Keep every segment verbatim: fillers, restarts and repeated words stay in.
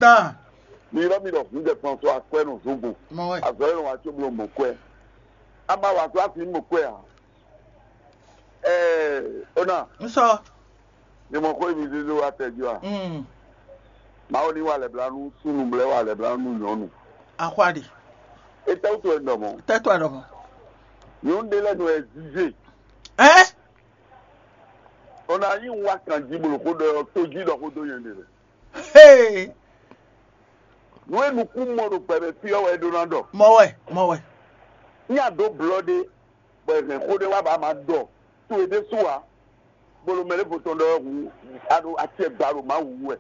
Ah, Mi ylɔ́ mi ɖɔ hun jɛ kplɔn sɔ akwɛ́ nɔ zɔn gbɔn. Mɔ wɛ. Azɔ yɛ nɔ wá tso bló mɔ kwɛ. Ama wà tó afi mɔ kwɛ a? Ɛɛ, ona, N sɔ. Ni mɔ xó mi zézé wá tɛ jí wa. Mm. Mawu ní wà lɛblanu súnnu blɛ́ wà lɛblanu nyɔ̌nu. Axwa ɖe. Etɛ́wútu wɛ un ɖɔ mɔ̌? Tɛ́tɔ ɖɔ mɔ̌. Nyɔ̌nu ɖé lɛ́ɛ nɔ ɛ zízé. Ɛ? Ona yí un wá kan jí bolo xó ɖɔ tó jí ɖɔ xó dó nyɛ ɖe lɛ. Hey. Nú e nukún mɔ ɖo gbɛmɛ fí ɔ́ wɛ é ɖó ná ɖɔ. Mɔ wɛ, mɔ wɛ. Ní a ɖǒ blɔ́ ɖé, bɔ è hɛn xó ɖé wá bɔ a ma ɖɔ to e ɖésú ǎ, bolo mɛ ɖěvo tɔn ɖɔ hu a ɖo acɛ gba ɖo Mawu wú wɛ.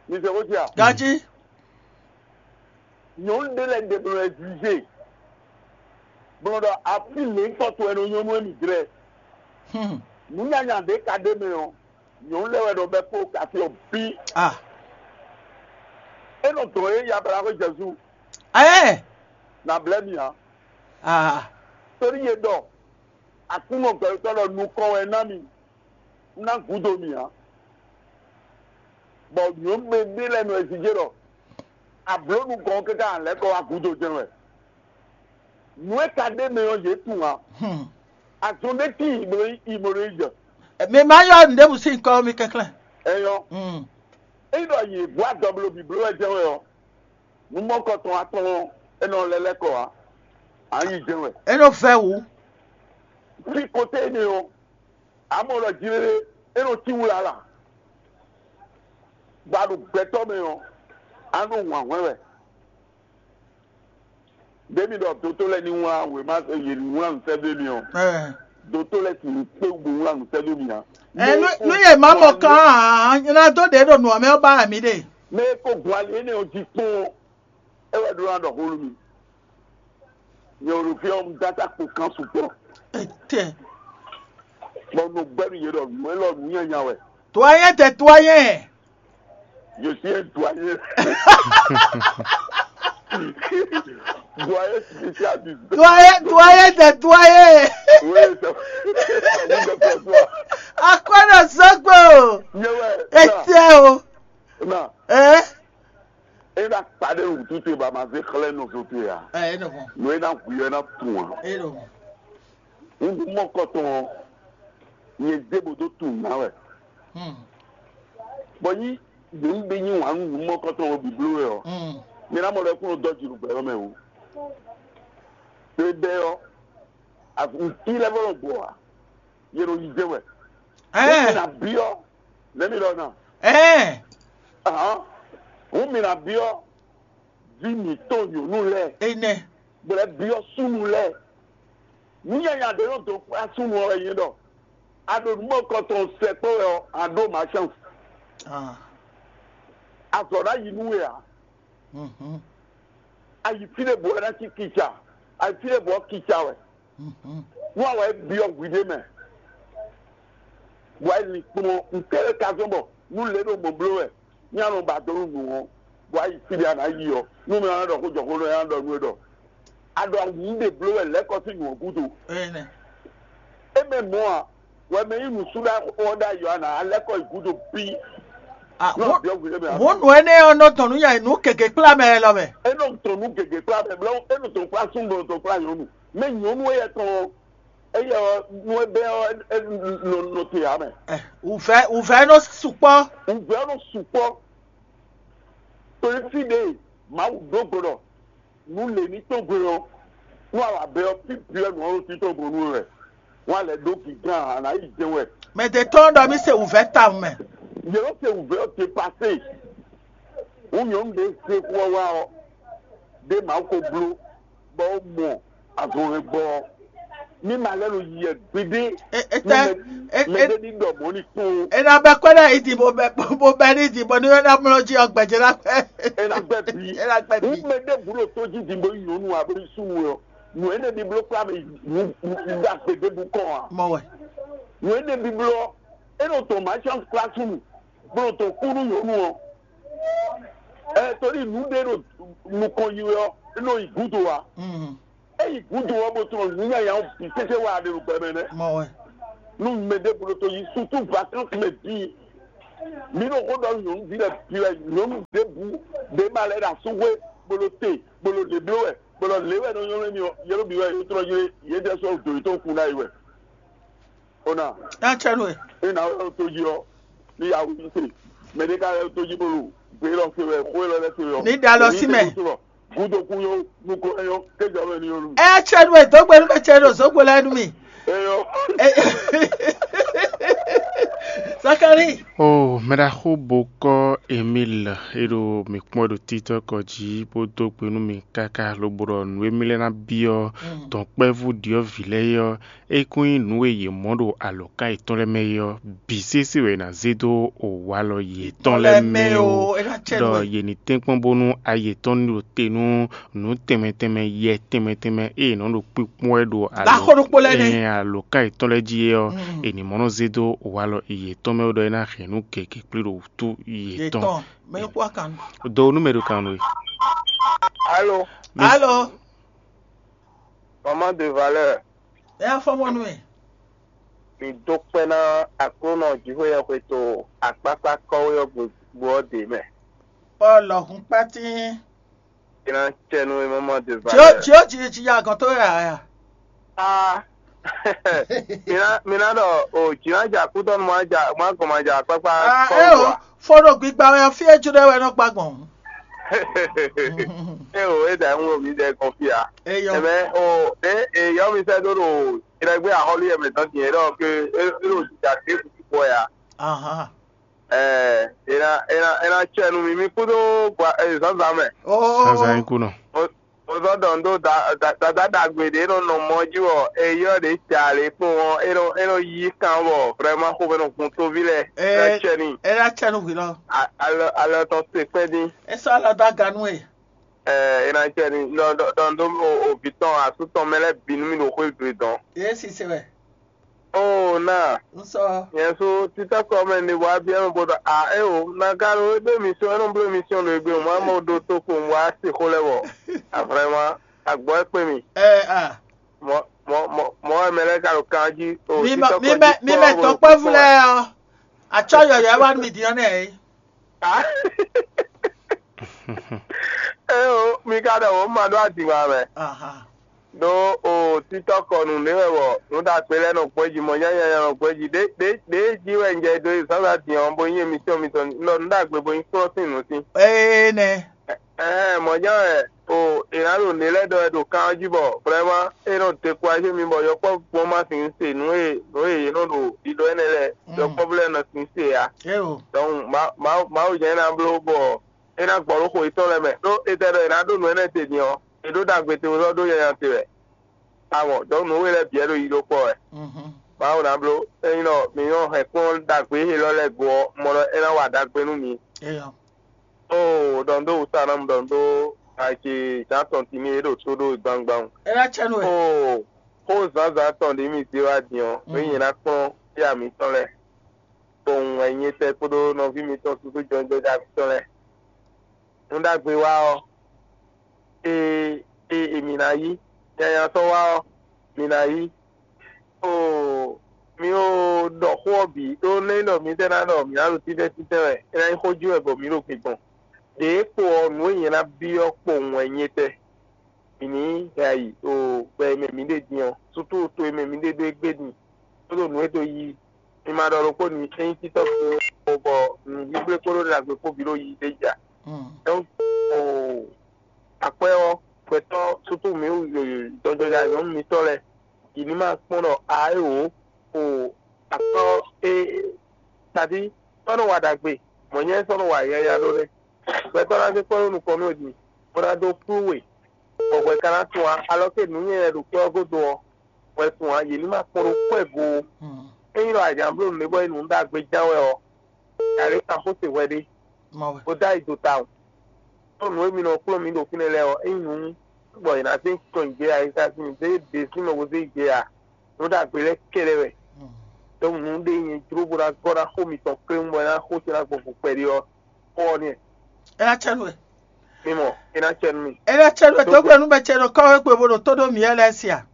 Mi se xó sia? Gají. Nyɔ̌nu ɖé lɛ́ɛ ɖe bló ɛ zízé, bló ɖɔ afí lěńkɔ towe nɔ nyɔ́ nú émí jlɛ́. Hmm. Nǔ nyanya ɖě ka ɖ'é mɛ ɔ́, nyɔ̌nu lɛ́ɛ wɛ nɔ bɛ́ kpó kafí ɔ́ bǐ. Ah. É nɔ dɔn é ya bla xwé Jezu. Ɛɛ. Na blɛ́ mì ǎ. Ah. Torí yě ɖɔ Aklúnɔ gbɛtɔ́ ɖɔ nukɔn wɛ ná mi, ná gǔdo mì ǎ. Bɔ nyɔ̌nu ɖé lɛ́ɛ nɔ ɛ jijé ɖɔ ablǒ nukɔn ɔ́ káká lɛ̌ kɔ wá gǔdo jɛ́n wɛ. Nǔ e ka ɖ'é mɛ ɔ́, yě tunwun ǎ. Hmm. Azɔn ɖé tíin bló yi mɔ ɖo yi jɛ. Mi ma yɔ nǔɖébǔ sín kɔ mi kɛnklɛ́n. Ɛyɔ, Hmm. Ényí ɖɔ yě gbɔ adɔ bló bǐbló wɛ jɛ́n wɛ ɔ́, nǔmɔkɔ tɔn atɔn ɔ́, é nɔ lɛ́ lɛ́ kɔ ǎ. Ǎ nyi jɛ́n wɛ. É nɔ vɛ́ wǔ. Fí koté énɛ́ ɔ́, amɔ̌ ɖɔ jlé é nɔ cí wǔ lǎlǎ. Bɔ a ɖo gbɛtɔ́ mɛ ɔ́, a nɔ wǎn hwɛ́n wɛ. Ɖěmi ɖɔ dotó lɛ́ɛ ní wlán wěma yě ní wlán nǔ sɛ́ dó mi ɔ́, Ɛ. Dotó lɛ́ɛ sì ní kpé wú bó wlán nǔ sɛ́ dó mi ǎ. Ɛ, nú nú yě má mɔ kán ǎ, nyɛ ná dó ɖě ɖo nǔ ɔ́ mɛ ɔ́ ba wɛ mǐ ɖe. Mɛ e ko gbɔn ali énɛ́ ɔ́ jí kpɔ́n ɔ́, é wɛ ɖó ná ɖɔ xó nú mi. Nyɛ ɖo fí ɔ́, un dó ata kpo kan sukpɔ́. Etɛ. Bɔ un nɔ gbɛ́ nú yě ɖɔ nǔ élɔ́ nǔ nyanya wɛ. Doyen de doyen. Je suis un doyen. Doyen spécial du. Doyen, doyen de doyen. Oui, ça, ça vous apprend quoi? Akwɛ́ nɔ sɔ́gbó. Nyɛ wɛ. Etɛ o. Na. Ɛ? E ná kpa ɖe wǔtu te ba ma zé xlɛ́ nɔ zo te ǎ. Ɛ, é nɔ hɔn. Nǔ e ná hu ɛ ná tun ǎ. É nɔ hɔn. Nǔɖuɖu mɔkɔtɔn ɔ́, nyɛ zé bó dó tunwun ná wɛ. Hmm. Bɔ yí yě ń ɖe nyi wǎn nú nǔ mɔkɔtɔn ɔ́ bǐbló wɛ ɔ́, Hmm. Mi ná mɔ ɖɔ é kún nɔ dɔ́ jǐ ɖo gbɛ ɔ́ mɛ o. Ɖé bɛ́ ɔ́, ntí lɛ́ɛ vɔ́ nɔ gbɔ ǎ, yě nɔ yí zé wɛ. Ɛ. Wúmi ná byɔ́, lɛ́ mi ɖɔ ná. Ɛ. Ahán. Wúmi ná byɔ́, ví mǐtɔn nyɔ̌nu lɛ́ɛ. Énɛ́. Bó lɛ́ byɔ́ súnnu lɛ́ɛ. Nǔ nyanya ɖé nɔ dó kplá súnnu ɔ́ wɛ nyí ɖɔ a ɖo nǔ mɔkɔtɔn sɛkpɔ́ wɛ ɔ́, a ɖó ma chance. Ah. Azɔ̌ ná yi nú we ǎ. Mhm. A yi fí ɖé bǔ wɛ ná cí kica, a yi fí ɖé bǔ ɔ́ kica wɛ. Mhm. Nú a wɛ é byɔ́ hwi ɖé mɛ, bɔ a yi lin kplɔ́n ntɛ́ e ka zɔ́n bɔ nú lě ɖo mɔ̌ bló wɛ, ní a nɔ ba dó nú nǔ ɔ́, bɔ a yi fí ɖé a nǎ yi ɔ́, nú mɛ ɔ́ ná ɖɔ xó jɔ xó nɔ nya ɖɔ nú we ɖɔ a ɖo awǔ ɖe bló wɛ lɛ̌ kɔ sín nǔ ɔ́ gúdo. Énɛ́. É mɛ mɔ̌ a, wɛ mɛ nyí nǔsúɖaxó ɔ́ ɖ'ayǐ ɔ́, a nǎ lɛ́ kɔ yi gúdo bí. Ah, Nú wǒ- abyɔ̌ hwi ɖé mɛ a wǒ nǔ énɛ́ ɔ́ nɔ tɔn nú nya nǔ gěgé kplá mɛ lɔ mɛ. É nɔ tɔn nú gěgé kplá mɛ, blɔ́ é nɔ tɔn kplá súnnu, nɔ tɔn kplá nyɔ̌nu. Mɛ nyɔ̌nu éyɛ́ tɔn ɔ́, éyɛ́ ɔ́, nú é bɛ́ ɔ́, é nɔ nɔ te ǎ mɛ. Ɛ, wǔvɛ́ wǔvɛ́ nɔ sukpɔ́. Wǔvɛ́ nɔ sukpɔ́. Torí fí ɖě Mawu ɖó gbe ɖɔ nǔ lě ní tɔ́n gbe ɔ́, nú awǎbɛ ɔ́, fí byɔ́ nǔ ɔ́ ɖo títɔn gbɔn nú we wɛ. Wọ́n á lɛ́ ɖó gǐgán ǎ, a nǎ yi jɛ́n wɛ. Mɛ ɖě tɔn ɖɔ mì se wǔvɛ́ tawun mɛ. Yě nɔ se wǔvɛ́ ɔ́ depasé. Wú nyɔ̌nu ɖě zé xó ɔ́ wá ɔ́, ɖé Mawu ko bló, bɔ é mɔ azɔn hɛn gbɔ ɔ́, ní ma lɛ́ nɔ yi yɛ gbeɖé. E- e- Nú tɛ- mɛ- e- mɛ e- ɖé ní ɖɔ mɔ̌ ní kpɔ́n. E na bɛ kpɛɖɛ yi di bo bɛ bo bɛ ní di bɔ ní wɛ na mlɔ jí ɔgbɛ jɛ la pɛ. E na gbɛ bi. E na gbɛ bi. Wú mɛ ɖé bu ɖo tó jí di bo yi nyɔ̌nu abo yi súnnu ɔ́, nǔ énɛ́ ní bló kplá mɛ nǔ nǔ nǔ ɖagbe ɖé bu kɔn a? Mɔ wɛ. Nǔ énɛ́ ní bló ɔ́, é nɔ tɔn ma chance kplá súnnu, bó nɔ tɔn kú nú nyɔ̌nu ɔ́. Ɛ torí nǔ ɖé ɖo nukɔn yi wɛ ɔ́, é nɔ yi gúdo a? Mhm. Eyi gúdo ɔ́, bó tunɔ nǔ nyanya ɔ́ bǐ sésé wá ɖe ɖo gbɛ mɛ nɛ́. Mɔ wɛ. Nú mɛ ɖěbǔ ɖo tó yi sutu vacances mɛ bǐ, Mi ɖo xó ɖɔ nyɔ̌nuví lɛ́ɛ bǐ wɛ, nyɔ̌nu ɖěbǔ ɖě ma lɛ́ ɖo asúxwé, bó ɖo te, bó ɖo lě bló wɛ, bó ɖɔ lě wɛ nɔ nylɔ́ mì ɔ́, yě ɖo bǐ wɛ yě tlɔ́ yé yětɛn sɔ́ dǒ yětɔn kún ná yi wɛ. Ona, Acɛnú e. É nǎ wɛ ɖo tó jí ɔ́, ní ya wú se. Mɛ ɖé ka lɛ́ ɖo tó jí bó ɖo gbě élɔ́ se wɛ, xó élɔ́ lɛ́ se wɛ ɔ́. Ní ɖe alɔ sí mɛ. Gúdo kú nyɔ́, nukɔn é nyɔ́, kéjɔ mɛ ní nyɔ́ nú. Ɛ cɛ nú ɛ dó gbe nú mɛ cɛ ɖo zǒgbo lɛ́ɛ nú mì. É nyɔ́. Ɛ- Zakari. O mɛɖaxó bokɔ Emil e ɖo mǐ kpɔ́n ɖo títɔ́ kɔ jí bó dó gbe nú mì káká lobo ɖɔ nǔ e mì lɛ́ ná byɔ́ dɔ̌nkpɛvú ɖyɔ̌vǐ lɛ́ɛ é ɔ́, é kún nyí nǔ e yě mɔ ɖo alɔ̌ká yětɔn lɛ́ɛ mɛ é ɔ́, bǐ sésé wɛ è nǎ zé dó walɔ yětɔn lɛ́ɛ mɛ ó, é ná cɛ nú ɖɔ ɛ. Yě ní tɛ́nkpɔ́n bónú ayi yětɔn ní ɖo te nú nǔ tɛnmɛ tɛnmɛ, yɛ tɛnmɛ tɛnmɛ e è nɔ ɖo kpíkpɔ́n wɛ ɖo Ɖaxó ɖokpó lɛ́ɛ nɛ́. Ɛhɛn, alɔ̌ká yětɔn lɛ́ɛ jí é ɔ́, è nǐ mɔ nɔ zé dó walɔ yětɔn mɛ ó ɖɔ é ná hɛn nǔ gěgé kplé ɖo wútu yětɔn. Yětɔn, mɛ kú akan. Do nú mɛ ɖo kan nú we. Allô, Mi- Allô, maman de valeur, ɛ afɔ mɔ nú mɛ. Mi dó kpɛ́ ná Aklúnɔ Jǐxwéyɛxwe to akpákpá kɔ́wé ɔ́ gbogbo ɔ́ ɖě mɛ. Ɔ lɔhun kpátín. É ná cɛ nú we maman de Tí ó valeur. Tí ó jí jí ya gɔn tó yà yà. Ah, mi ná mi ná ɖɔ o jǐ ná ja kútɔ́ nu má ja má gɔn má ja akpákpá Ah, kɔ́wé ɛ o, wa. Fɔɖo gbigba wɛ fí e jló wɛ nɔ gba gbɔn. É o é ɖa ń wo mi ɖɛ gɔn fí a. Eyɔ. Ɛmɛ o é é yɔ mi sɛ ɖó ɖo ìrẹ́gbẹ́ àhọ́lí ẹ̀mẹ̀ tán tiẹ̀ ɖɔ pé é é ɖo jìjà dé kúkú bɔ ya. Ahan. Ɛ é ná é ná é ná cɛ nu mi mi kúdó gba é zǎnzǎn mɛ. Oh. Zazan yín kú nɔ. Mo zɔ ɖɔ ndo da da da ɖagbe ɖě nɔ nɔ mɔ jí wɔ eyɔ ɖě ja lě kpɔn ɔ́ é nɔ é nɔ yí kan wɔ vrɛmá xomɛ nɔ gun tóví lɛ. Ɛ ná cɛ ni. Ɛ ná cɛ nu hwi lɔ. Alɔ alɔ tɔn se kpɛ́ dín. É sɔ́ alɔ dó aga nú e. Ɛ é ná cɛ ni ɖɔ ɖɔ ɖɔ ndo o o vǐ tɔn asú tɔn mɛ lɛ́ɛ bǐ nú mi ɖo xwé gbe dɔn. Yě si se wɛ. Oo na. Nsɔ. Yɛn so títà kɔmɛ ni wá biɛ mɛ bó ɖɔ a é o na ka ɖo é ɖó émission é nɔ bló émission ɖo egbe wá mɔ ɖó tó ko wá se xó lɛ wɔ. A vraiment agbɔ é kpé mi. Ɛ a. Mɔ mɔ mɔ mɔ wɛ mɛ lɛ ka ɖo kan jí o. Mi mɛ mi mɛ mi mɛ tɔkpɛvu lɛ ɔ. Atsɔ yɔyɔ wá mi diɔ nɛ. Eo, mi ka ɖɔ wǒ ma ɖó adǐngba mɛ. Ɖó o títɔ́ kɔ nǔɖé wɛ bɔ nǔ ɖagbe lɛ́ɛ nɔ gbɔn jí, mɔ nyanya nɔ gbɔn jí. Ɖě jí wɛ un jɛ dó zǎnzǎn din ɔ́, bó nyí emisiyɔn mitɔn nɔ nǔ ɖagbe bó nyí kplɔ́n sín nǔ sín. Énɛ́. Ɛhɛn, mɔ̌ jɛ́n wɛ o è nǎ ɖo nǔ lɛ́ɛ ɖɔ wɛ ɖo kan ɔ́ jí bɔ vrɛ́má é nɔ dekuraje mi bɔ yɔkpɔ́vú gbɔn ma sixú se nǔ e nǔ e yě nɔ ɖo ɖiɖɔ énɛ́ lɛ́ɛ, yɔkpɔ́vú lɛ́ɛ nɔ sixú se ǎ. Éo. Donc Mawu Mawu jɛ́n é ná bló bɔ é ná gbɔ ɖó xo yětɔn lɛ́ɛ mɛ, ɖó è tɛ ɖɔ è nǎ ɖó nǔ énɛ́ te din ɔ́, è ɖó ɖagbe te wezɔ́ ɖó nyanya te wɛ. Amɔ, donc nǔ we lɛ́ɛ bǐ wɛ ɖo yi ɖó kpɔ́ wɛ. Mawu ná bló, ényí nɔ mǐ nyɔ́ hɛn kplɔ́n ɖagbe élɔ́ lɛ́ɛ go ɔ́, mɔ ɖɔ é ná wa ɖagbe nú mǐ. Éyɔ. Oo, ɖɔ nǔ ɖó wǔ sa ná mu ɖɔ nǔ ɖó aje Jean Santini e ɖo tó ɖó gbangban. É ná cɛ nú we. Oo, xó zǎnzǎn tɔn ɖě mi zé wá din ɔ́, nú nyɛ ná kplɔ́n fí amǐtɔn lɛ́ɛ, kpowun wɛ nyɛ tɛ kpódó nɔví mitɔn susu jɔnjɔja mitɔn lɛ́ɛ. Nǔ ɖagbe wá ɔ́, e e e mǐ ná yí. Nyanya sɔ́ wá ɔ́, mǐ ná yí. Oo, mi o ɖɔ xó ɔ́ bǐ, ɖó nɛ́ ɖɔ mǐ tɛ́ ná ɖɔ mǐ ná ɖo títɛ́ títɛ́ wɛ, é ná nyí xó jí wɛ bɔ mǐ ɖo gbe gbɔn. Đěe kpo ɔ́, nǔ e nyɛ ná byɔ́ kpowun wɛ nyɛ tɛ. Mǐ ní hɛn ayǐ ɖo gbɛ e mɛ mǐ ɖe din ɔ́, sútú to e mɛ mǐ ɖe ɖó égbé din, kpódó nǔ e dó yí. Mi ma ɖɔ ɖokpó nú mi, ényí títɔ́ kpo bɔ nǔɖiɖe kpódó ɖagbe kpó bǐ ɖo yí ɖé ja. Donc, o akwɛ́ ɔ́, gbɛtɔ́ sútú mǐ jɔjɔja nyɔ̌nu mitɔ́ lɛ́ɛ, yě ní ma kpɔ́n ɖɔ a é wǒ o akɔ́ e taɖí sɔ́ nɔ wa ɖagbe, mɔ̌ nyɛ sɔ́ nɔ wa yɛya ɖó nɛ́. Gbɛtɔ́ ná zé kpɔ́n ɖó nukɔn nú din, bó ná dó kplú we, bɔ hwɛ ka ná tun ǎ, alɔ ke nǔ nyanya ɖo kpɛ́ ɔ́ gúdo ɔ́, hwɛ tun ǎ, yě ní ma kpɔ́n ɖó kpɔ́ ɛ go ó. Ényí ɖɔ a jǎn bló nǔɖé bɔ é nǔ ɖagbe ján wɛ ɔ́, Yǎ ɖé kan xó se hwɛ ɖé, bó dó ayi do tawun. Ɖó nǔ e mi nɔ kplɔ́n mǐ ɖo fínɛ́ lɛ́ɛ ɔ́, ényí nǔ bɔ è nǎ zé tɔn yi gbé ǎ, è ka sin zé ɖě sín mɛ bó zé yi gbé ǎ, nǔ ɖagbe lɛ́ɛ kɛ́ɖɛ́ wɛ. Donc nǔ ɖé nyɛ jló bó ná gɔ́ ná xó mitɔn kléwún bɔ é ná xó ce ná gbɔn vo kpɛɖé ɔ́, xó ɔ́ nɛ́. É ná cɛ nú we. Mi mɔ, é ná cɛ nú mì. É ná cɛ nú we, dó gbe nú mɛ ce ɖo kɔ́ we gbe bó ɖo tó ɖó mǐ lɛ́ɛ sí a?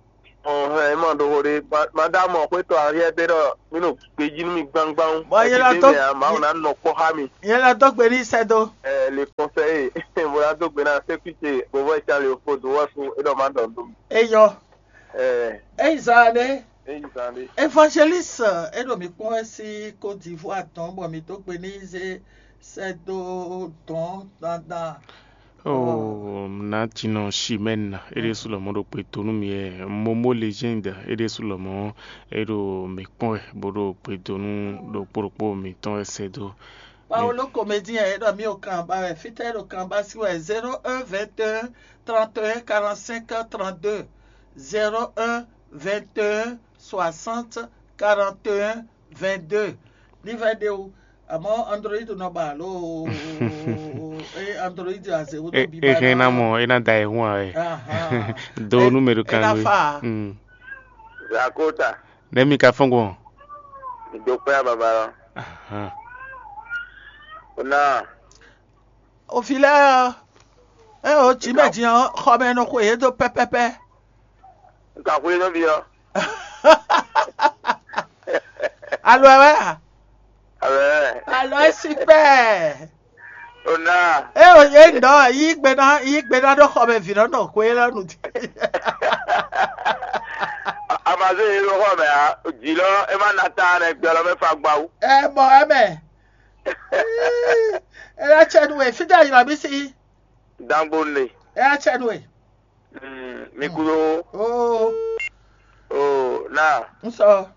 Ɔhɛn, é ma ɖo xo ɖé. Madame xwétɔ Ariel ɖé ɖɔ mí ɖo gbejí nú mi gbangban. Bɔ yě lɔ dó mɛ, Mawu ná nɔ kpɔ́ xá mi. Yě lɔ dó gbe ní sɛ́ dó. Ɛ, le conseil, bó ná dó gbe ná sécurité, bó vɔ ìtàn lè fo dó wɔ sú é ɖɔ má ɖɔ dó. Eyɔ. Ɛ, Eyi zan ɖé. É yi zan ɖé. Évangéliste, é ɖo mǐ kpɔ́n wɛ sí Côte d'Ivoire tɔn bɔ mǐ dó gbe ní zé sɛ́ dó dɔn dandan. Oh, Natinɔ Chimène, é ɖésú lɔmɔ̌ ɖo kpedó nú mì wɛ. Momo Legende, é ɖésú lɔmɔ̌, é ɖo mǐ kpɔ́n wɛ, bó ɖo kpedó nú ɖokpó ɖokpó mǐtɔn wɛ sɛ́ dó. Paulo Comédien, é ɖɔ mí ɖo kan ba wɛ, fítɛ́ é ɖo kan ba sí wɛ, zéro un vingt et un trente et un quarante-cinq trente-deux, zéro un vingt et un soixante quarante et un vingt-deux. Ní vɛ ɖe o, àmọ́ Android nɔ ba alo é Android azé wútu bí ba. Ná mɔ é ná da ẹ̀ hún ɛ. Do nú mɛ ɖo kan nú. Zakota. Nɛ̌ mi ka fɔ́n gbɔn? Mi dó kpɛ́ baba lɔ. Ahan. O ná. Òfin lɛ́ɛ ɔ́, é o jǐ mɛ din ɔ́, xɔ mɛ nɔ xwe yě dó pɛ́pɛ́pɛ́. Un ka xwe nɔ byɔ́. Alo ɛ wɛ a? Alo ɛ. Alo ɛ si pɛ́. O ná. É o yě ŋdɔ yí gbe ná yí gbe ná ɖó xɔ mɛ vǐ nɔ nɔ xwe lɔ nu. Amazé yìí ló xɔ mɛ a, jǐ lɔ é má na ta nɛ gbɛ lɔ mɛ fa gbawu. Ɛ mɔ ɛ mɛ. É ná tsɛ nú we, fítɛ́ ylɔ́ mì sí? Dangbo ne. É ná tsɛ nú we. Mm, mi kúrò. Oo. Oo, na. N sɔ.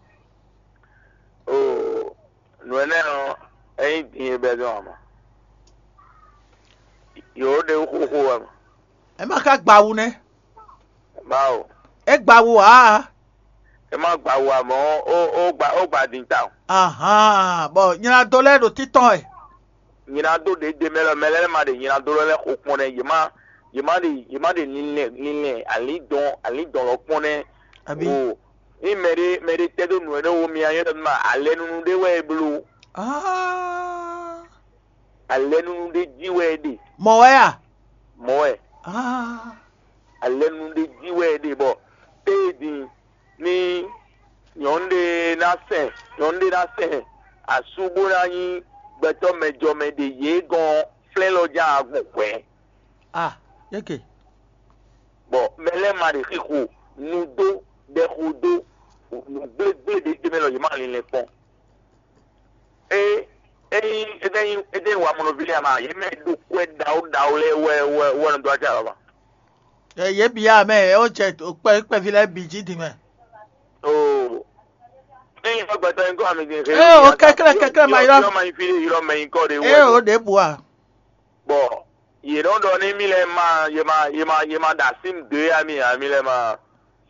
Oo, nǔ énɛ́ ɔ́, é nyí din e bɛ́ dɔn ǎ mɔ. Yǒ ɖe xóxó wɛ mɔ. É má ka gba awu nɛ́. Bawo. É gba awu ǎ. É má gba awu ǎ mɔ, ó, ó gba, ó gba din tawun. Ahan, bɔ nylado lɛ́ɛ ɖo títɔn wɛ. Nylado ɖě ɖe mɛ lɔ, mɛ lɛ́ɛ ma ɖe nylado lɔ lɛ́ɛ xo kpɔ́n nɛ́. Yě má, yě má ɖe, yě má ɖe linlɛn, linlɛn, alǐndɔn, alǐndɔn lɔ kpɔ́n nɛ́. Abǐ. O, ní mɛ ɖé, mɛ ɖé tɛ́ dó nǔ énɛ́ wú mì a nyɔ́ ɖɔ nú ma, alɛnunu ɖé wɛ é bló. Ah. Alɛnunu ɖé jí wɛ é ɖe. Mɔ̌ wɛ a? Mɔ̌ wɛ. Ah. Alɛnunu ɖé jí wɛ é ɖe bɔ téé din ní nyɔ̌nu ɖé ná sɛn, nyɔ̌nu ɖé ná sɛn asú bó ná nyí gbɛtɔ́ mɛjɔmɛ ɖe yě gɔ́n flɛ́n lɔ ján agun hwɛ̌. Ah, yeke. Bɔ mɛ lɛ́ɛ ma ɖe xixo nu dó ɖɛxo dó nǔgblégbé ɖé tɛ́ mɛ lɔ yě ma linlɛn kpɔ́n. É, ényí é ɖe nyí é ɖe nyí wamɔnɔví lɛ́ɛ ma, yě mɛ ɖo kwɛ́ ɖawu ɖawu lɛ́ɛ wɛ wɛ wɛ nɔ dó acɛ ǎ ba. Ɛ yě bǐ ya mɛ ɛ ó jɛ kpɛ kpɛví lɛ́ɛ bǐ jí din mɛ. Oo. Ényí xɔ gbɛtɔ́ nyí kɔ ami din xe. Ɛ o kɛklɛ kɛklɛ ma ylɔ. Ylɔ ma nyí fí ylɔ mɛ nyí kɔ ɖe wɛ. Ɛ o ɖě bu a. Bɔ yě nɔ ɖɔ ní mì lɛ́ɛ ma yě ma yě ma yě ma ɖo así dó yá mì ǎ, mì lɛ́ɛ ma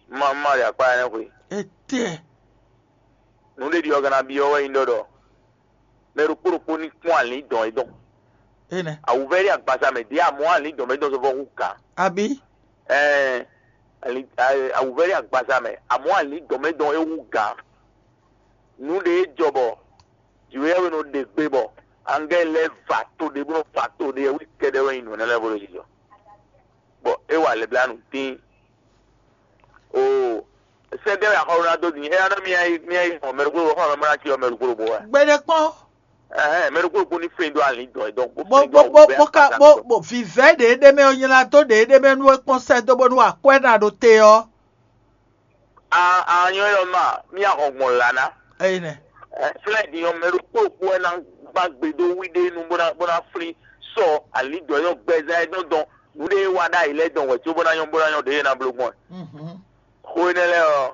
ma ma ɖe akpá ɛnɛ́ xwe. Etɛ. Nǔ ɖe ɖi ɔ́ gana byɔ́ wɛ nyí ɖɔ ɖɔ mɛ ɖokpó ɖokpó ní kpɔ́n alǐndɔn e dɔn. Enɛ. Awǔvɛ́lí agbaza mɛ ɖě amɔ̌ alǐndɔn mɛ dɔn sɔ́ vɔ́ hú gǎn. Abí. Ɛɛ, ali- a- awǔvɛ́lí agbaza mɛ amɔ̌ alǐndɔn mɛ dɔn é hú gǎn. Nǔ ɖe e jɔ bɔ jǐwéyɛ́wé nɔ ɖe gbe bɔ angɛ́ lɛ́ɛ va to ɖé bó nɔ va to ɖé wú kɛɖɛ́ wɛ nyí nǔ énɛ́ lɛ́ɛ bó ɖo jijɔ. Bɔ é wa lɛblanu tín. Oo, sɛ́dɛ́ wɛ axɔ́ ná dó din. É ná nɔ mía yi mía yi xɔ mɛ ɖokpó ɖokpó xɔ mɛ mɔ ná cyɔ mɛ ɖokpó ɖokpó wɛ. Gbeɖé kpɔ́n. Ɛhɛn, mɛ ɖokpó ɖokpó ní flin dó alǐn dɔn ɛ dɔn. Bó bó bó bó ka bó bó vivɛ ɖě ɖé mɛ ɔ́ nylá dó ɖě ɖé mɛ nú é kpɔ́n sɛ́ dó bónú akwɛ́ ná ɖo te ɔ́. A a nyɔ yɔ ma mía xɔ gbɔn la ná. Eyi nɛ. Ɛ, flɛ́ din ɔ́, mɛ ɖokpó ɖokpó wɛ ná gbá gbe dó wí ɖé nu bó ná bó ná flín sɔ alǐndɔ̌ nyɔ́ gbɛzán é dɔn dɔn nǔɖé e wa ɖ'ayǐ lɛ́ɛ dɔn wɛ có bó ná nyɔ́ bó ná nyɔ́ ɖě e ná bló gbɔn ɛ. Mhm. Xó énɛ́ lɛ́ɛ ɔ́,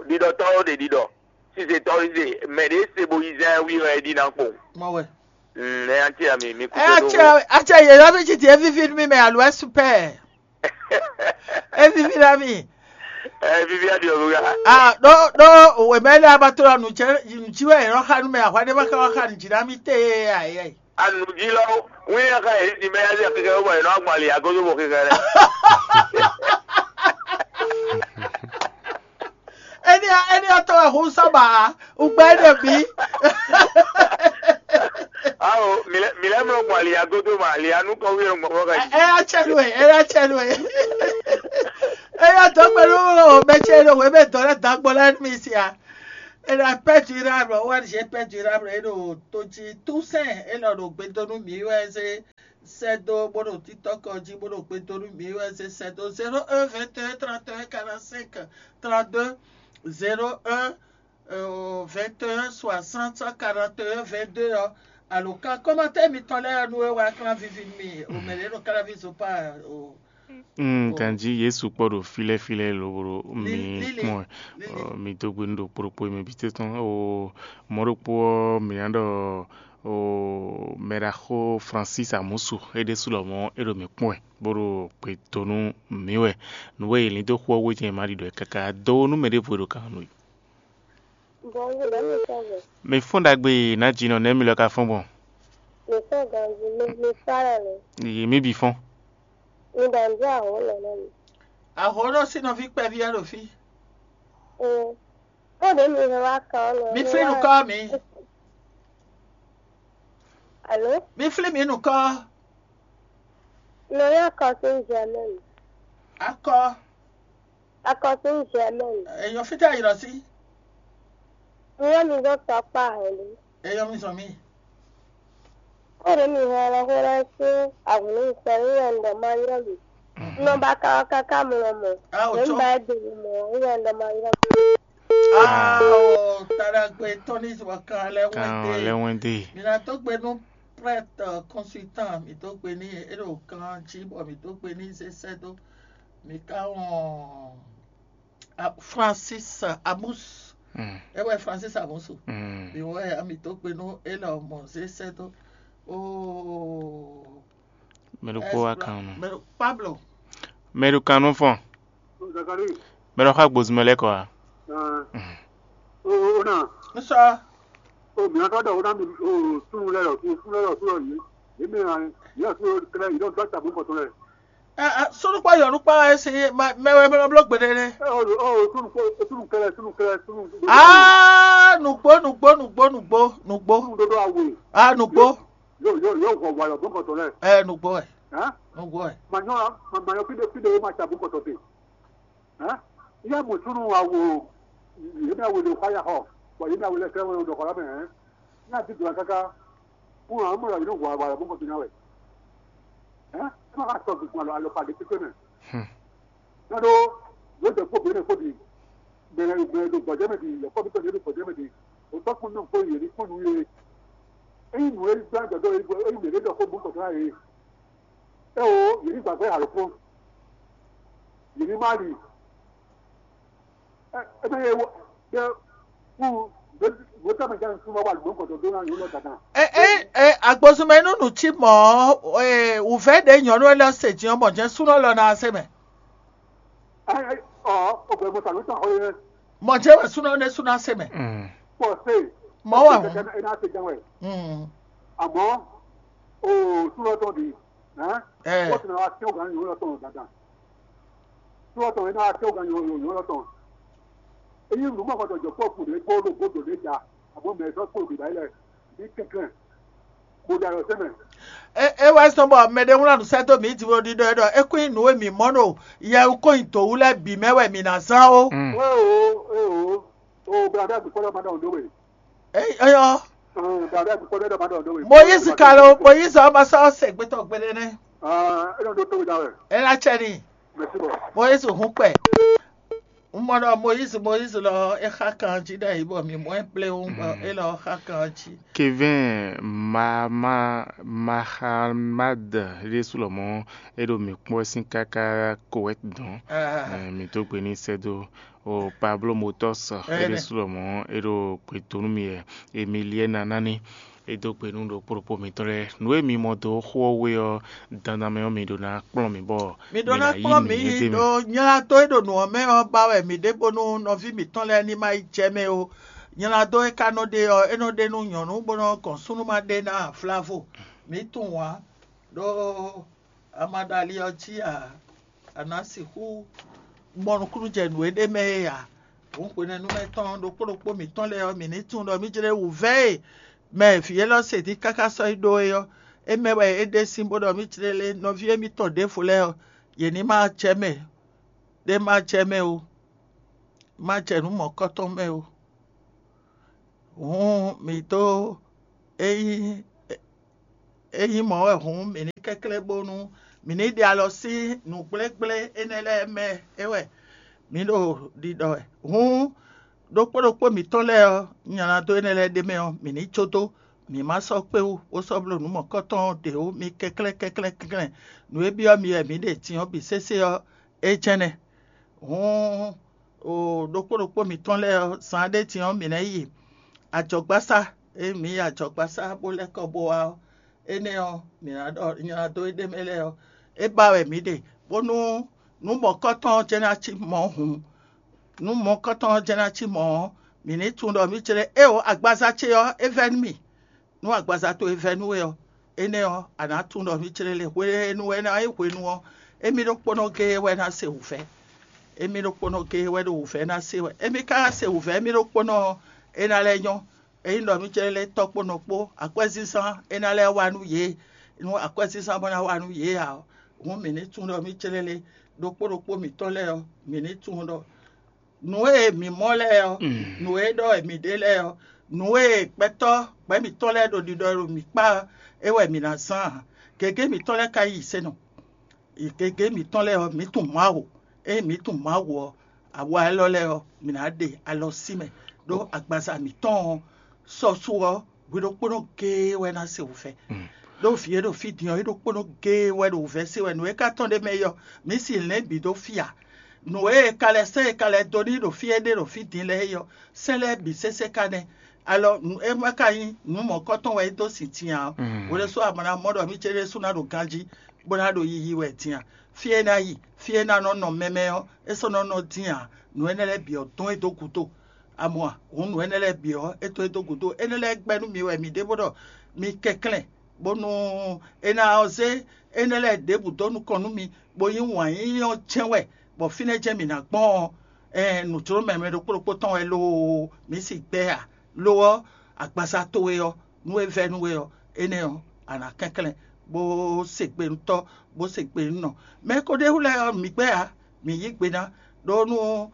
ɖiɖɔtɔ́ ɔ́ ɖe ɖiɖɔ, sizetɔ́ ɔ́ zé, mɛ ɖě se bo yi zán ɛ wí wɛ é ɖi ná kpowun. Mɔ wɛ. Mm, ɛ nya ce ami mi kú Ɛ tó atsɛ ɖó. Atsɛ yě lɔ bí titi é víví nú mì mɛ alo é super. É víví ná mì. Ɛ vivi aɖi ɔlú ya. Ah, ɖó ɖó òwe mɛ lɛ abató la nù tsɛ nù tsi wɛ yɛ nɔ xa nù mɛ ahwa ɖé ma ka wá xa nù dzi ná mì té ayɛ. Anu dzi lɔ wíní aka yɛ ti mɛ ya zɛ keke bɔ yɛ nɔ agbɔn ali agodo bɔ keke lɛ. Eni eni atɔ wɛ hun saba ugbɛ ne bi. Awo milɛ milɛ mlɔ gbɔn ali agodo ma ali anu kɔ wíyɔ gbɔn bɔ ka yi. Ɛ atsɛ nu ɛ ɛ atsɛ nu ɛ. Eya dɔgbe ɖo mɛ ce ɖo wěmɛ dɔ lɛ dagbo lɛ nú mi sia. Ena pɛ durable, O N G pɛ durable e ɖo to jí Toussaint e nɔ ɖo gbe dó nú mǐ wɛ zé sɛ́ dó bó ɖo TikTok jí bó ɖo gbe dó nú mǐ wɛ zé sɛ́ dó zéro un vingt et un trente et un quarante-cinq trente-deux, zéro un vingt et un soixante quarante et un vingt-deux ɔ́. Alo kan kɔ́mɔtɛ́ mitɔn lɛ́ɛ nú é wá klán vivi nú mì o mɛ ɖě nɔ káláví zopá o. Mm, ganjí Yesu kpɔ́ ɖo fílɛ́fílɛ́ lobo ɖo mi kpɔ́n ɛ. Ɔ, mi dó gbe nú ɖo kplɔ́kpó mɛ bǐ tɔn o. Mɔ̌ ɖokpó ɔ́, mǐ ná ɖɔ o mɛɖaxó Francis Amusu é ɖésú lɔmɔ̌ é ɖo mǐ kpɔ́n ɛ bó ɖo gbe dó nú mǐ wɛ. Nǔ e è lǐn dó xú ɔ́ wú é jɛ́n è ma ɖi ɖɔ ɛ káká dó nú mɛ ɖěvo e ɖo kan nú i. Bonjour, ɖe mi sɔ gbɔ. Mi fɔ́n ɖagbe e nǎ jinɔ nɛ̌ mi lɔ ka fɔ́n gbɔn? Mi sɔ ganji, mi mi sɔ alɔ lɛ. Yi mi bǐ fɔ́n. Mi ɖɔ nǔ dó ahǒ lɛ nɔ mi. Ahǒ nɔ sín nɔví kpɛví wɛ ɖo fí. Ee. Kó ɖě mi hɛn wá kan ɔ́ nɔ. Mi flí nukɔ́ mi. Alo? Mi flí mi nukɔ́. Nɔ yá kɔ sín jɛ mɛ mi. Akɔ. Akɔsín Germaine. Èèyàn fítɛ́ yìí lọ sí. Nyɔ́ mi zɔ́n tɔkpá hɛ̌nnu. Èèyàn mi zɔn mí. Kóɖě mi hɛn lɔ xó lɛ́ɛ sín agun nú mi sɛn wɛ un ɖɔ ma ylɔ́ mi. Un nɔ ba ka ɔ́ káká mlɔ mɔ. A ò Mɛ un tsɔ. Ba ɛ do mi mɔ, un wɛ un ɖɔ ma ylɔ́ mi. A ò taɖagbe tɔn ní zɔ kan lɛ Kan wɛn lɛ dé. Wɛn dé. Mi ná tó gbe nú prêtre consultant mi tó gbe ní e ɖo kan jí bɔ mi tó gbe ní zé sɛ́ dó. Mi ka wɔn Francis Amus. Mm. É wɛ Francis Amusu. Mm. Mi wɛ ami tó gbe nú é lɔ mɔ zé sɛ́ dó. Oh. Mɛ ɖokpó wá kan nɔ. Mɛ Pablo. Mɛ ɖo kan nɔ fɔn. Zakari. Mɛ ɖo xa gbozumɛ lɛ kɔ a. Ɛɛ. Mm. O o na. N sɔ. O mi aka dɔ o na mi o sunu lɛ yɔ sunu lɛ yɔ sunu yɔ yi. Yi mi na yi yɔ sunu kɛlɛ yi dɔ dɔ ta bu kɔtɔ lɛ. Sunukpɔ yɔnukpɔ wɛ si mɛ wɛ mɛ bló gbeɖé nɛ. Aa nugbo nugbo nugbo nugbo nugbo. Aa nugbo. Ɛ nugbo wɛ. Nugbo wɛ. Yá mɔ súnú awo yě mɛ awo lè xɔ ayá xɔ, bɔ yě mɛ awo lɛ kɛ wọn ɖɔ xɔ la mɛ hɛn. Ní ati dùn káká, kún àwọn mọ̀lá yìí ló wà wà lọ́mọ kọ̀tún náà wẹ̀. Ẹ́ ẹ́ má ka sọ gbogbo àlọ́ àlọ́ pàdé pípé mẹ́. Nádó yóò jẹ́ kó bìnrin kó di gbẹ̀rẹ̀ gbẹ̀rẹ̀ do gbọ̀jẹ́ mẹ́ di yọ̀kọ́ bí tọ̀jẹ́ do gbọ̀jẹ́ mẹ́ di òtọ́ kún náà kó yèrí kún nù yé. Eyín nù é gbá gbẹ̀dọ̀ eyín nù é dọ̀ kó bú kọ̀tún náà yé. É o yèrí gbàgbé àlọ́ kún. Yèrí má rì. Ebe ye wo ye wu wotama jan suma wa lomɔ kɔtɔ do na yɔ lɔ dada. E e e agbosumɛ nunu tsi mɔ e wuvɛ ɖe nyɔnu lɛ se dziɔ mɔ jɛ sunɔ lɔ na se mɛ. Ɛ ɛ ɔ o gbɛ mo ta ló ta xɔ yɛ. Mɔ jɛ wɛ sunɔ ne sunɔ se mɛ. Kpɔ se. Mɔ wɛ hun. Ena se jan wɛ. Àmọ́ o sunɔ tɔn di. Ɛ. Wọ́n ti na wa tiẹ́ ògán yòó lọ́tọ̀ dandan. Tí wọ́n tọ̀ yẹn náà tiẹ́ ògán yòó lọ́tọ̀. Eyín lùmọ̀ kọ́tọ̀ jọ pọ̀ kùn ní kó ló gbódò ní ìjà àbọ̀ mẹ́tọ́ kó lòdì báyìí lẹ̀ ní kẹ̀kẹ́. Mo dàrọ̀ sẹ́mẹ̀. E e wɛ sɔn bɔ mɛ ɖé wlán nǔ sɛ́ dó mǐ jǐ ɖiɖɔ é ɖɔ é kún nyí nǔ e mǐ mɔ ɖo yɛwúkɔ́nyidǒwú lɛ́ɛ bǐ mɛ wɛ mǐ ná zán ó. Ée o ée o o bla bɛ gbɛkpɔ́ lɔ ma ɖɔ nǔ dó we. Eyɔ. Moyizi ka lo Moyizi ɔ́ ma sɔ́ sɛgbɛtɔ́ gbeɖé nɛ́. É nɔ ɖó tó da wɛ. É ná cɛ n'i. Mɛsibɔ. Moyizi hun kpɛ. Un mɔ ɖɔ Moyizi Moyizi lɔ é xa kan jí ɖe yi bɔ mǐ mɔ ɛ pléwún bɔ é lɔ xa kan jí. Kevin ma ma Mahamad ɖésú lɔmɔ̌ é ɖo mǐ kpɔ́ sín káká Kowɛt dɔn. Mǐ dó gbe n'i sɛ́ dó. O Pablo Motɔs é ɖésú lɔmɔ̌ é ɖo gbe dó nú mì wɛ. Emiliɛ́na nání é dó gbe nú ɖokpó ɖokpó mǐtɔn lɛ́ɛ. Nǔ e mi mɔ dó xó ɔ́ wé ɔ́, dandan mɛ ɔ́, mi ɖó ná kplɔ́n mì bɔ mi ɖó ná kplɔ́n mì yi ɖo nylá dó e ɖo nǔ ɔ́ mɛ ɔ́ ba wɛ mǐ ɖe bónú nɔví mǐtɔn lɛ́ɛ ní ma yi jɛ mɛ ó. Nylá dó e ka nɔ ɖe ɔ́, é nɔ ɖe nú nyɔ̌nu bó nɔ́ gɔn súnnu ma ɖe ná flavo. Mǐ tunwun ǎ, ɖó a ma ɖo ali ɔ́ jí ǎ, a nǎ sixú mɔ nukúnnú jɛ nǔ e ɖ'é mɛ é ǎ. Hǔn hwenɛ́nu mɛ tɔn ɖokpó ɖokpó mǐtɔn lɛ́ɛ ɔ́, mǐ ní tunwun ɖɔ mǐ jlɛ́ wǔvɛ́ e mɛ vǐ élɔ́ se dín káká sɔ́ yi ɖó é ɔ́, é mɛ wɛ é ɖe sín bó ɖɔ mǐ jlɛ́ lé nɔví émítɔn ɖěvo lɛ́ɛ ɔ́, yě ní ma acɛ mɛ. ɖé má jɛ mɛ ó, má jɛ nǔ mɔ̌kɔ́tɔn mɛ ó. Hǔn mǐ dó ényí ényí mɔ̌ wɛ hǔn mǐ ní kɛnklɛ́n bónú mǐ ní ɖe alɔ sín nǔgblégblé énɛ́ lɛ́ɛ mɛ é wɛ mǐ ɖo ɖiɖɔ wɛ. Hǔn ɖokpó ɖokpó mǐtɔn lɛ́ɛ ɔ́, nylá dó énɛ́ lɛ́ɛ ɖ'é mɛ ɔ́, mǐ ní jó dó; mǐ ma sɔ́ kpé wú bó sɔ́ bló nǔ mɔ̌kɔ́tɔn ɔ́ ɖě ó. Mi kɛnklɛ́n kɛnklɛ́n kɛnklɛ́n. Nǔ e byɔ́ mi wɛ mǐ ɖe din ɔ́ bǐ sésé ɔ́, é jɛ́n nɛ́. Hǔn ɖokpó ɖokpó mǐtɔn lɛ́ɛ ɔ́, zan ɖé din ɔ́, mǐ ná yi ajɔ̌gbasá. Ényí mǐ yi ajɔ̌gbasá bó lɛ́ kɔ bó wá ɔ́, énɛ́ ɔ́, mǐ ná ɖɔ nylá dó éɖée mɛ lɛ́ɛ ɔ́, é ba wɛ mǐ ɖe, bónú nǔ mɔ̌kɔ́tɔn ɔ́ jɛ́n ná cí mɔ̌ hǔn. Nǔ mɔ̌kɔ́tɔn ɔ́ jɛ́n ná cí mɔ̌ ɔ́, mǐ ní tunwun ɖɔ mǐ jlɛ́ éeǒ, agbaza ce ɔ́, é vɛ́ nú mì. Nú agbaza towe vɛ́ nú we ɔ́, énɛ́ ɔ́, a nǎ tunwun ɖɔ mǐ jlɛ́ le. Hwenu e é nú wɛ ná nyí hwenu ɔ́, émí ɖokpónɔ géé wɛ ná se wǔvɛ́. Émí ɖokpónɔ géé wɛ ɖo wǔvɛ́ ná se wɛ. Émí ka ná se wǔvɛ́ émí ɖokpónɔ ɔ́, é ná lɛ́ nyɔ́. Ényí ɖɔ mǐ jlɛ́ le tɔ́ kpó nɔ kpó, akwɛ́zínzán é ná lɛ́ wá nú yě. Nú akwɛ́zínzán bó ná wá nú yě ǎ ɔ́, hǔn mǐ ní tunwun ɖɔ mǐ jlɛ́ le. Ɖokpó ɖokpó mǐtɔn lɛ́ɛ ɔ́, mǐ ní tunwun ɖɔ nǔ e mǐ mɔ lɛ́ɛ ɔ́, nǔ e ɖɔ wɛ mǐ ɖe lɛ́ɛ ɔ́, nǔ e gbɛtɔ́ gbɛ̌ mǐtɔn lɛ́ɛ ɖo ɖiɖɔ ɖo mǐ kpá ɔ́, é wɛ mǐ ná zán ǎ. Gěgé mǐtɔn lɛ́ɛ ka yí sɛ́ nɔ. Gěgé mǐtɔn lɛ́ɛ ɔ́, mǐ tunwun Mawu. Ényí mǐ tunwun Mawu ɔ́, awa élɔ́ lɛ́ɛ ɔ́, mǐ ná ɖe alɔ sí mɛ, ɖó agbaza mǐtɔn ɔ́, sɔ́sú ɔ́, hwi ɖokpónɔ géé wɛ ná se wǔvɛ́. Ɖó vǐ e ɖo fí din ɔ́, é ɖokpónɔ géé wɛ ɖo wǔvɛ́ se wɛ. Nǔ e ka tɔn ɖ'é mɛ é ɔ́, mǐ si lɛ̌n bǐ dó fí ǎ. Nǔ e è ka lɛ́ sɛ́ è ka lɛ́ dó n'i ɖo fí éɖée ɖo fí din lɛ́ɛ é ɔ́, sɛ́n lɛ́ɛ bǐ sésé ka nɛ́. Alɔ nǔ e ma ka nyí nǔ mɔ̌kɔ́tɔn wɛ é dó sin din ǎ ɔ́, hwe ɖésú a ma ná mɔ ɖɔ mǐ céɖésú ná ɖo ganjí, bó ná ɖo yiyi wɛ din a? Fí e é ná yi, fí e é ná nɔ nɔ mɛmɛ ɔ́, é sɔ́ nɔ nɔ din ǎ. Nǔ énɛ́ lɛ́ɛ bǐ ɔ́ dɔn é dó gúdo. A mɔ a? Hǔn nǔ énɛ́ lɛ́ɛ bǐ ɔ́, é dɔn é dó gúdo. Énɛ́ lɛ́ɛ gbɛ́ nú mi wɛ mi ɖěvo ɖɔ mi kɛnklɛ́n, bónú é ná ɔ́ zé énɛ́ lɛ́ɛ ɖěbǔ dó nukɔn nú mi, bó nyí wǎn yíyí ɔ́ jɛ́n wɛ, bɔ fínɛ́ jɛ́n mǐ ná gbɔn ɔ́, ɛɛn nǔjló mɛ mɛ ɖokpó ɖokpó tɔn wɛ loo, mǐ si gbɛ́ a? Lo ɔ́, agbaza towe ɔ́, nú é vɛ́ nú we ɔ́, énɛ́ ɔ́, a nǎ kɛnklɛ́n, bó se gbe nú tɔ́, bó se gbe nú nɔ. Mɛ ko ɖ'é wú lɛ́ɛ ɔ́, mǐ gbɛ́ ǎ, mǐ yí gbe ná, ɖó nú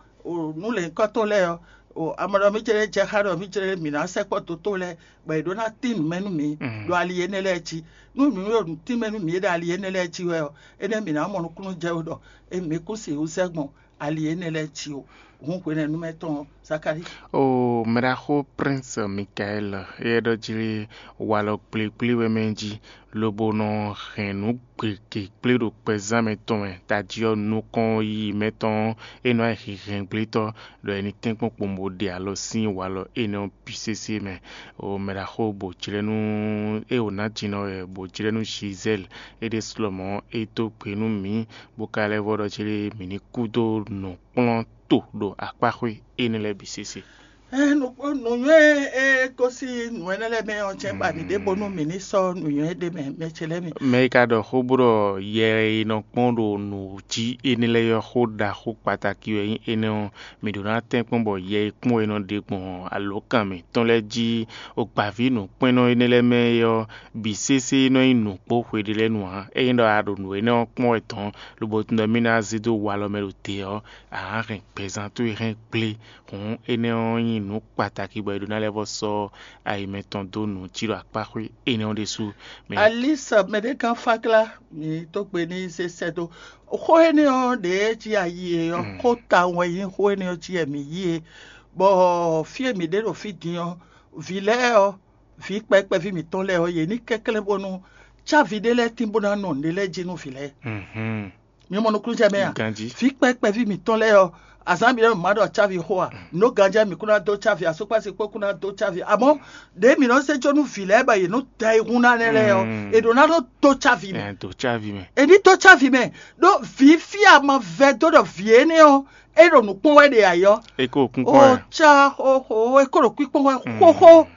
nú lěhunkɔ́tɔn lɛ́ɛ ɔ́, a ma ɖɔ mǐ jlɛ́ jɛ xá ɖɔ mǐ jlɛ́ mǐ ná sɛkpɔ́ dotó lɛ́ɛ, bɔ è ɖó ná tín nǔ mɛ nú mǐ ɖo ali énɛ́ lɛ́ɛ jí. Nú mǐ ɖo nǔ tín mɛ nú mǐ ɖo ali énɛ́ lɛ́ɛ jí wɛ ɔ́, énɛ́ mǐ ná mɔ nukúnnú jɛ wú ɖɔ émí kún sixú sɛ́ gbɔn ali énɛ́ lɛ́ɛ jí ó. Hǔn hwenɛ́nu mɛ tɔn ɔ́, Zakalíi. O mɛɖaxó Prince Michael, éyɛ́ ɖɔ jí walɔ gblégblé wɛ mɛ jí, lobo nɔ hɛn nǔ gěgé kplé ɖo kpɛzán mɛ tɔn mɛ. Tají ɔ́, nukɔn yiyi mɛ tɔn ɔ́, é nɔ wá nyí hɛnhɛngblétɔ́, ɖɔ è nǐ tɛ́nkpɔ́n kpowun bó ɖe alɔ sín walɔ énɛ́ ɔ́ bǐ sésé mɛ. O mɛɖaxó bǒ jlɛ́ nú é wǒ ná jǐnɔ wɛ bǒ jlɛ́ nú Gisèle. É ɖésú lɔmɔ̌ é dó gbe nú mǐ, bó ka lɛ́ vɔ ɖɔ jí mǐ ní kú dó nǔkplɔ́n to ɖo akpáxwé énɛ́ lɛ́ɛ bǐ sésé. Ɛ, nǔ- nǔnywɛ́ e gosín nǔ énɛ́ lɛ́ɛ mɛ ɔ́ jɛ́n ba mǐ ɖěbónú mǐ ní sɔ́ nǔnywɛ́ ɖé mɛ, mɛ ce lɛ́ɛ mi. Mɛ e ka ɖɔ xó bó ɖɔ yɛ e nɔ kpɔ́n ɖo nǔ jí énɛ́ lɛ́ɛ ɔ́, xó ɖaxó kpatáki wɛ nyí énɛ́ ɔ́, mǐ ɖó ná tɛ́nkpɔ́n bɔ yɛ e kpɔ́n e nɔ ɖe gbɔn alǒkan mǐtɔn lɛ́ɛ jí, ogbǎví nǔkpɛ́nnɔ énɛ́ lɛ́ɛ mɛ é ɔ́, bǐ sésé nɔ nyí nǔkpó hweɖé lɛ́ɛ nu ǎ. Ényí ɖɔ a ɖo nǔ énɛ́ ɔ́ kpɔ́n wɛ tɔn, lobo tunwun ɖɔ mì ná zé dó walɔ mɛ ɖo te ɔ́, a nǎ hɛn gbɛzán towe hɛn gblé. Hǔn énɛ́ ɔ́ nyí nǔ kpatáki bɔ è ɖó ná lɛ́ vɔ sɔ́ ayi mɛtɔn dó nǔ jí ɖo akpáxwé énɛ́ ɔ́ ɖésú. Mɛ Alisa mɛɖégán Fáklá, mǐ dó gbe n'i zé sɛ́ dó. Xó énɛ́ ɔ́ ɖě jí a yí e ɔ́, xó tawun wɛ nyí xó énɛ́ ɔ́ jí wɛ mǐ yí e, bɔ fí e mǐ ɖe ɖo fí din ɔ́, vǐ lɛ́ɛ ɔ́, vǐ kpɛví mǐtɔn lɛ́ɛ ɔ́, yě ní kɛnklɛ́n bónú cávi ɖé lɛ́ɛ tín bó ná nɔ nǔɖé lɛ́ɛ jí nú vǐ lɛ́ɛ. Mi mɔ nukúnnú jɛ mɛ a? Ganjí. Vǐ kpɛví mǐtɔn lɛ́ɛ ɔ́, azǎn bǐ lɛ́ɛ mǐ ma ɖɔ cávi xó a? Nǔ ganjí wɛ mǐ kún ná dó cávi, asúkpási kpó kún ná dó cávi. Amɔ̌ ɖěe mǐ nɔ zé jó nú vǐ lɛ́ɛ bɔ yě nɔ da ayihún ná nɛ́ lɛ́ɛ ɔ́, è ɖǒ ná nɔ dó cávi mɛ. Ɛ dó cávi mɛ. È ní dó cávi mɛ, ɖó vǐ fí a ma vɛ́ dó ɖɔ vǐ énɛ́ ɔ́, é ɖo nǔ kpɔ́n wɛ ɖe ayɔ. É kó kún kpɔ́n wɛ. Ó cá xóxó, é kó ɖo kpíkpɔ́n wɛ xóxó.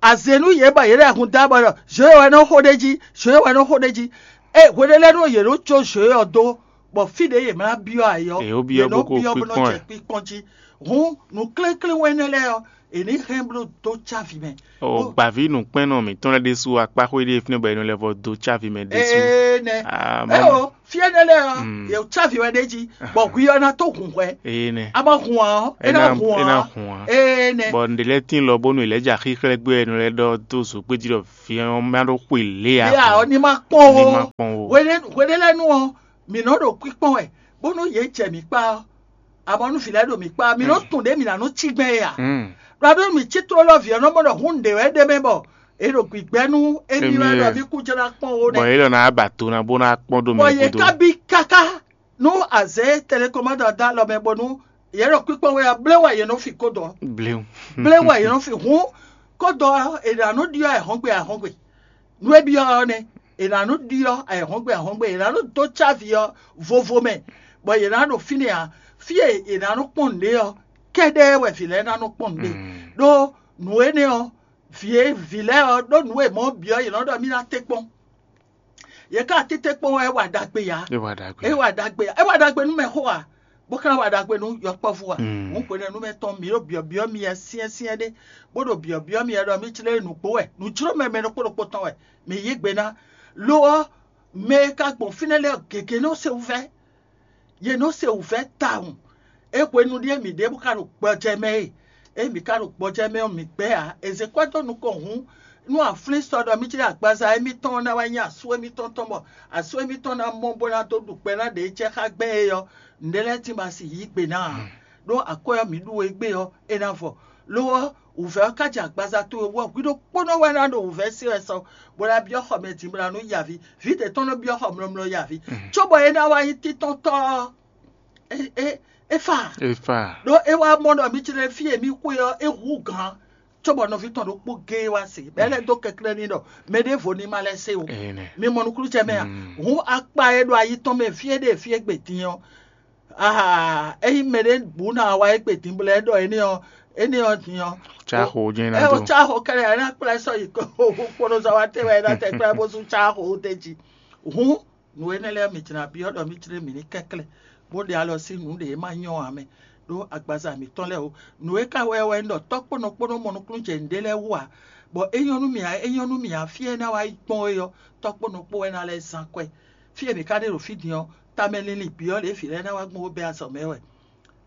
Azě nú yě bɔ yě ɖo ayihún da bɔ ɖɔ zǒ e wɛ nɔ xó ɖ'é jí, zǒ e wɛ nɔ xó ɖ'é jí. Ée hweɖé lɛ́ɛ nú yě nɔ có zǒ e ɔ́ dó, bɔ fí ɖě yě mlá byɔ́ ayɔ, Yě nɔ byɔ́ yě bó nɔ ko byɔ́ bó nɔ kpíkpɔ́n jɛ ɛ. Kpíkpɔ́n jí. Hǔn nǔ klénklén wɛ énɛ́ lɛ́ɛ ɔ́, è ní hɛn bló dó cávi mɛ. O gbàví nǔkpɛ́nnɔ mǐtɔn lɛ́ɛ ɖésú akpáxwé ɖé fínɛ́ bɔ è nɔ lɛ vɔ dó cávi mɛ ɖésú. Ee nɛ. Ah, ɛ mɔ- o fíɛ́ nɛ lɛ ɔ yě cávi wɛ ɖé jí, bɔ hwi ɔ ná tó hun hwɛ. Ee nɛ. A ma hun ɔ é É ná ná- hun é ná ɔ. hun ɔ. Ee nɛ. Bɔ ǹɖě lɛ́ɛ tín lɔ bónú è lɛ́ ja xíxlɛ́ gbé wɛ è nɔ lɛ́ ɖɔ dó zǒgbéjí ɖɔ vǐ ɔ́ má ɖó xwe lě Yé a a ɔ ní ma kpɔn ní má o. kpɔn o. Hwenɛ́ hwenɛ́ lɛ́ɛ nú ɔ mǐ nɔ ɖo kpíkpɔ́n wɛ bónú yě jɛ mǐ kpá ɔ́. Amɔ̌ nú vǐ lɛ́ɛ ɖo mǐ kpá ɔ́, mǐ nɔ tunwun ɖě mǐ ná nɔ cí gbɛn é a? Mm. Ɖɔ ɖó mǐ cí tlólɔ vǐ ɔ́ nɔ mɔ ɖɔ hún ɖě wɛ ɖ'é mɛ bɔ è ɖo gbǐgbɛ́ nú émí wɛ ɖɔ mí kú jlá kpɔ́n ó Bɔ nɛ́. yě lɔ ná ba do ná bó ná kpɔ́n dó Bɔ mɛ yě gúdo. Ka bí káká nú azɛ̌ tɛlɛkɔmátɔ dó alɔ mɛ bónú yě ɖo kpíkpɔ́n wɛ ɔ́, blé wɛ yě nɔ fi kódɔ. Bléwu. Blé wɛ yě nɔ fi hún kódɔ ɔ́, è ɖo anú ɖyɔ́ ayǐhɔ́ngbe ayǐhɔ́ngbe. Nú é byɔ́ ɔ́ nɛ́, è nǎ nɔ ɖyɔ́ ayǐhɔ́ngbe ahɔ́ngbe, è nǎ nɔ dó cávi ɔ́ vovo mɛ, bɔ yě ná ɖo fínɛ́ ǎ. Fí e è nǎ nɔ kpɔ́n nǔɖé ɔ́, kɛ́ɖɛ́ wɛ vǐ lɛ́ɛ ná nɔ kpɔ́n nǔɖé. Ɖó nǔ énɛ́ ɔ́, vǐ e vǐ lɛ́ɛ ɔ́ ɖó nǔ e mɔ̌ byɔ́ yě nɔ ɖɔ mì ná tɛ́nkpɔ́n. Yě ka tɛ́nkpɔ́n wɛ é wa ɖagbe ǎ. É wa ɖagbe. É wa ɖagbe ǎ. É wa ɖagbe nú mɛxó ǎ, bó ka wa ɖagbe nú yɔkpɔ́vú ǎ. Hǔn hwenɛ́nu mɛ tɔn mǐ ɖo byɔ̌byɔ́ myɛ syɛ́nsyɛ́n ɖé, bó ɖo byɔ̌byɔ́ myɛ ɖɔ mí jlé nǔgbó wɛ, nǔjló mɛ mɛ ɖokpó ɖokpó tɔn wɛ. Mǐ yí gbe ná. Lo ɔ́, mɛ e ka gbɔn fínɛ́ lɛ́ɛ gěgé nɔ se wǔvɛ́. Yě nɔ se wǔvɛ́ tawun. É hwenu ɖíe mǐ ɖěbǔ ka ɖo gbɔjɛ́ mɛ e, é mǐ ka ɖo gbɔjɛ́ mɛ ɔ́, mǐ gbɛ́ ǎ. È zě kwɛ́ dó nukɔn hǔn, nú a flín sɔ ɖɔ mí jlé agbaza émítɔn ná wá nyí asú émítɔn tɔn bɔ asú émítɔn ná mɔ bó ná dó ɖu kpɛ ná ɖě jɛ xá gbɛn é ɔ́, nǔɖé lɛ́ɛ tín ba si yí gbe ná ǎ. Ɖó akwɛ́ ɔ́ mǐ ɖu e gbé ɔ́, é ná vɔ. Lo ɔ́, wǔvɛ́ ɔ́ ka jɛ agbaza towe wú ɔ́, hwi ɖokpónɔ wɛ ná ɖo wǔvɛ́ se wɛ sɔ, bó ná byɔ́ xɔ mɛ din bó ná nú yaví. Vǐ ɖě tɔn nɔ byɔ́ xɔ mlɔmlɔ yaví. Cóbɔ é ná wá nyí títɔ́ntɔ́ ɔ́, é é é fa. É fa. Ɖó é wá mɔ ɖɔ mí jlé fí e mí xwe ɔ́, é hú gǎn. Cóbɔ nɔví tɔn ɖokpó géé wá se, bɔ é lɛ́ dó kɛnklɛ́n n'i ɖɔ mɛ ɖěvo ní ma lɛ́ se o. Ee nɛ. Mi mɔ nukúnnú jɛ mɛ a? Hǔn akpa e ɖo ayi tɔn mɛ fí e ɖe fí e gbe din ɔ́, aa, ényí mɛ ɖé bǔ ná wa é gbe din bɔ é ɖɔ énɛ́ ɔ́, énɛ́ ɔ́ din ɔ́. Tsáxo jɛ́n ná Ɛ o dó. Tsáxo kɛlɛ ɛ ná kplá sɔ yi kpɔnɔ zɔ wa tɛ́ wɛ ɛ ná tɛ kplá bó sú tsáxo tɛ́ jí. Hǔn nǔ énɛ́ lɛ́ɛ mǐ jlá byɔ́ ɖɔ mí jlé mǐ ní kɛnklɛ́n, bó ɖe alɔ sín nǔ ɖě e ma nyɔ́ ǎ mɛ, ɖó agbaza mǐtɔn lɛ́ɛ o. Nǔ e ka wɛ wɛ un ɖɔ tɔ́ kpónɔ kpónɔ mɔ nukúnnú jɛ nǔɖé lɛ́ɛ wú ǎ, bɔ é nyɔ́ nú mì ǎ, é nyɔ́ nú mì ǎ, fí e é ná wá yi gbɔn é ɔ́, tɔ́ kpónɔ kpó wɛ ná lɛ́ zán kwɛ́. Fí e mǐ ka ɖe ɖo fí din ɔ́, tamɛ linlin bǐ ɔ́, lě e vǐ lɛ́ɛ ná wá gbɔn bó bɛ́ azɔ̌ mɛ wɛ.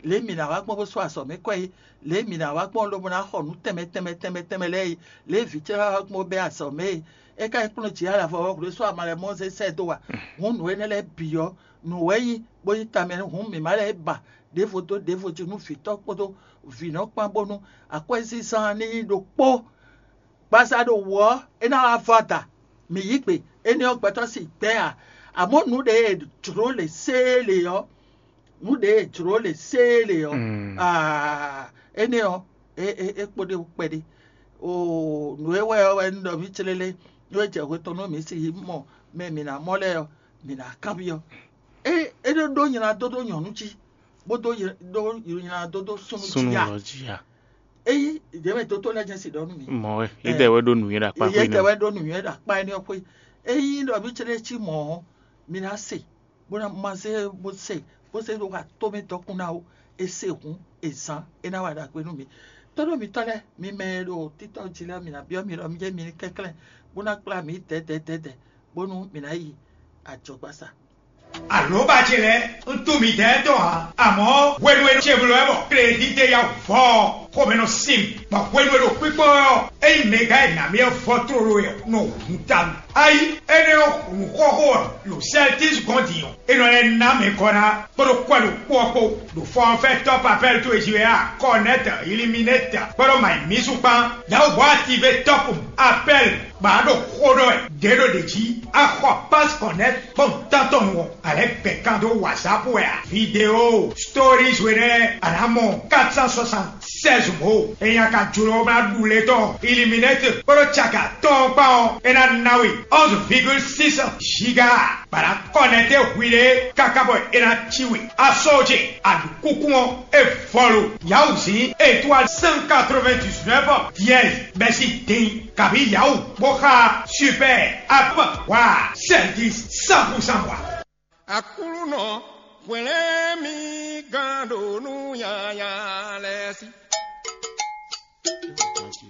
Lě e mǐ ná wá gbɔn bó sú azɔ̌ mɛ kwɛ́ é, lě e mǐ ná wá gbɔn lobo ná xɔ nǔ tɛnmɛ tɛnmɛ tɛnmɛ tɛnmɛ lɛ́ɛ é, lě e vǐ ce ná wá gbɔn bó bɛ́ azɔ̌ mɛ é, é ka nyí kplɔ́n jǐ alavɔ ɔ́ hwlé sú ama lɛ́ɛ mɔ zé sɛ́ dó wa. Hǔn nǔ énɛ́ lɛ́ɛ bǐ ɔ́, nǔ wɛ nyí bó nyí tamɛ hǔn mǐ má lɛ́ ba ɖěvo dó ɖěvo jí nú vǐtɔ́ kpódó vǐnɔ kpán bónú akwɛ́zínzán ní nyí ɖokpó. Gbasa ɖo wǔ ɔ́, é ná wá vɔ ada. Mǐ yí gbe, énɛ́ ɔ́ gbɛtɔ́ sín gbɛ́ ǎ. Amɔ̌ nǔ ɖě e jlǒ lě séé lě ɔ́, nǔ ɖě e jlǒ lě séé lě ɔ́, aa, énɛ́ ɔ́, é é é kpo ɖé wú kpɛɖé. Oo, nǔ e wɛ ɔ́ wɛ un ɖɔ mǐ clélé, nú é jɛ hwe tɔn nú mǐ si mɔ mɛ mǐ ná mɔ lɛ́ɛ ɔ́, mǐ ná kanbyɔ́. É é ɖó ɖó nylá dó ɖó nyɔ̌nu jí, bó dó ɖó nylá dó ɖó súnnu jí Súnnu a? lɔ jí a? Ényí ɖěmɛ dótó lɛ́ɛ jɛ́n si ɖɔ nú mǐ. Mɔ wɛ, yě dɛ wɛ ɖó nǔnywɛ́ ɖo akpá xwé Yě nɛ. tɛ wɛ ɖó nǔnywɛ́ ɖo akpá énɛ́ ɔ́ xwé. Ényí ɖɔ mí clé cí mɔ̌ ɔ́, mi ná se, bó ná ma zé bó se, bó se ɖó wa tó mɛ dɔkun ná ó. E se hǔn, e zán, é ná wa ɖagbe nú mi. Tóɖó mitɔ́ lɛ́ɛ, mi mɛ e ɖo títɔ́ jí lɛ́ɛ, mi ná byɔ́ mi ɖɔ mi jɛ mi ní kɛnklɛ́n, bó ná kplá mi dɛ̌dɛ̌dɛ̌dɛ̌, bónú mi ná yi ajɔgbasa. Alǒba ce lɛ́ɛ, un tunwun midɛɛ tɔn ǎ, amɔ̌ hwenu e ce bló wɛ bɔ klédídé ya vɔ ɔ́, xomɛ nɔ sin mì, bɔ hwenu e ɖo kpíkpɔ́n wɛ ɔ́, ényí mɛgán e nǎ mì ɔ́ vɔ tlóló wɛ ɔ́, nɔ hun ta mì. Ayi, énɛ́ ɔ́, nǔxɔxó ɔ́, ɖo Sɛltis gɔ́n din ɔ́, é nɔ lɛ́ ná mɛ kɔ ná kpódó kwɛ́ ɖokpó ɔ́ kpó, ɖo fɔnfɛ́n tɔ́ papɛ́l towe jí wɛ a, Kɔnɛ́t, Iliminɛ́t, kpódó Mayimísu kpán, Dawubo Ative tɔ́pun, Apɛ́l, bɔ a ɖo xó ɖɔ wɛ ɖě ɖo ɖě jí, a xɔ Pás Kɔnɛ́t kpɔ́n tɔn tɔn nu ɔ́, a lɛ́ gbɛ̌ kan dó WhatsApp wɛ a? Vidéo, stories we nɛ́ a nǎ mɔ quatre cent soixante-seize mots. Ényí a ka jló ná ɖu lě tɔn Iliminɛ́t kpódó caka tɔn ɔ́ kpán ɔ́, é ná ná we onze virgule six giga. Bɔ a nǎ kɔnɛtɛ́ hwiɖée káká bɔ é ná cí we. Asó ce, a ɖu kúkú ɔ́, é vɔ lo. Yawuzǐn étoile cent quatre-vingt-dix-neuf dièse bɛ́ sín din kabǐ Yawu bó xá Super App wa Sɛltis cent pour cent wa. Aklúnɔ hwlɛ́n mì gán ɖo nú nyanya lɛ́ɛ sí.